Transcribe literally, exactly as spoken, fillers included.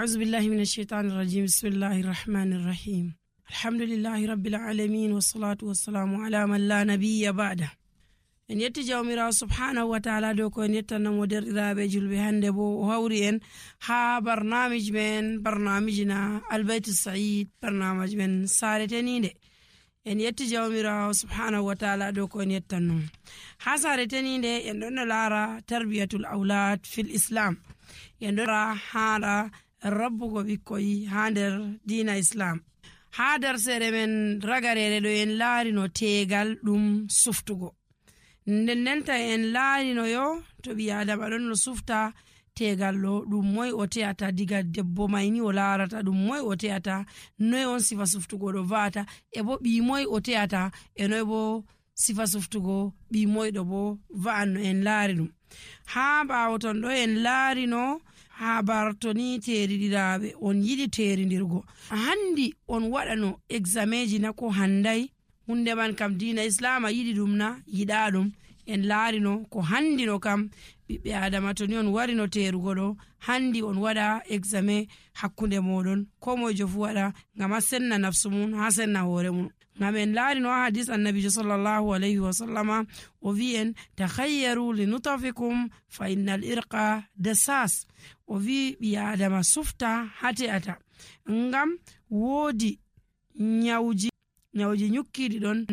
أعوذ بالله من الشيطان الرجيم بسم الله الرحمن الرحيم الحمد لله رب العالمين والصلاة والسلام على من لا نبي بعده. en yetti jawmirawo subhanahu wa ta'ala dow ko en yettannamo derɗiraɓe julɓe hande bo o hawri en ha barnamiji men barnamiji na albaytu said barnamiji men sare tenide. en yetti jawmirawo subhanahu wa ta'ala dow ko en yettannomo ha sare tenide en ɗon no laara tarbiyatul aulad fil islam. en ɗon ra haɗa rabbugo ɓikkoy ha nder dina islam. ha darsere men ragarere ɗo en laarino tegal ɗum suftugo. nden ndenta en laarino yo to ɓi adama ɗon no sufta tegal ɗo ɗum moy o te'ata diga debbo mayni o laarata ɗum moy o te'ata noy on sifa suftugo ɗo va'ata e bo ɓi moy o te'ata e noy bo sifa suftugo ɓi moyɗo bo va'an no en laari ɗum. ha ɓawo ton ɗo en laarino habar to ni teriɗiraɓe on yiɗi teridirgo handi on waɗano exameji na ko handai hunde man kam dina islama yiɗi ɗum na yiɗa ɗum. en laarino ko handino kam ɓiɓɓe adama to ni on warino terugo ɗo handi on waɗa exame hakkunde moɗon ko moijo fu waɗa ngam ha senna nafsu mum ha senna hoore mum. ngam en laarino ha hadis annabijo sallallahu alayhi wa sallama o wi en takhayyaru li nutafikum fa innal irqa dasas. o wi ɓi adama sufta ha te'ata ngam woodi nyawji nyawji nyukkiɗi ɗon